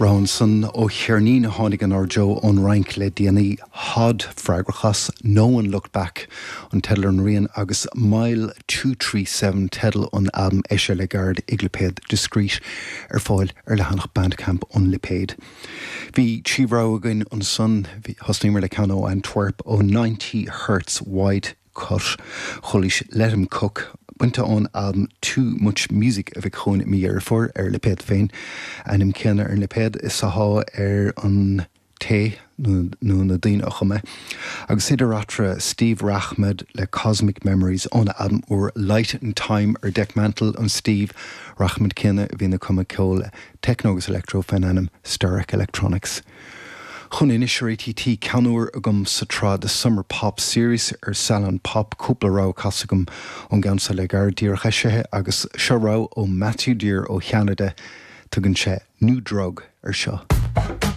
Rogha ansan ó cheirnín a tháinig inár dtreo ón Fhrainc le déanaí, Hod, freagrach as No One Looked Back an teideal ar an rian agus Mile 237 teideal an albaim eisithe le gairid ag lipéad Discreet, ar fáil ar leathanach Bandcamp an lipéid. Bhí trí rogha againn ansan, thosnaíomar le ceann ó Antwerp ó 90 Hertz Wide Cut. Chualaís Let 'Em Cook, bainte ón albam Too Much Music a bheidh chugainn i mí Dheireadh Fómhair ar a lipéad féin. Ainm céanna ar an lipéad is athá ar an té nó na daoine a chum é. Agus idir eatarthu, Steve Rachmad le Cosmic Memories óna albam úr Light and Time ar Dekmantel, an Steve Rachmad céanna a bhíonn ag cumadh ceol techno agus electro fén ainm Sterac Electronics. Chugainn anois ar ATT, ceann úr agam sa tsraith The Summer Pop Series ar Salon Pop, cúpla rogha casadh agam ón gceann seo le gairid, díreach eisithe, agus seo rogha ó Matthew Dear ó Cheanada, tugann sé New Drug ar seo.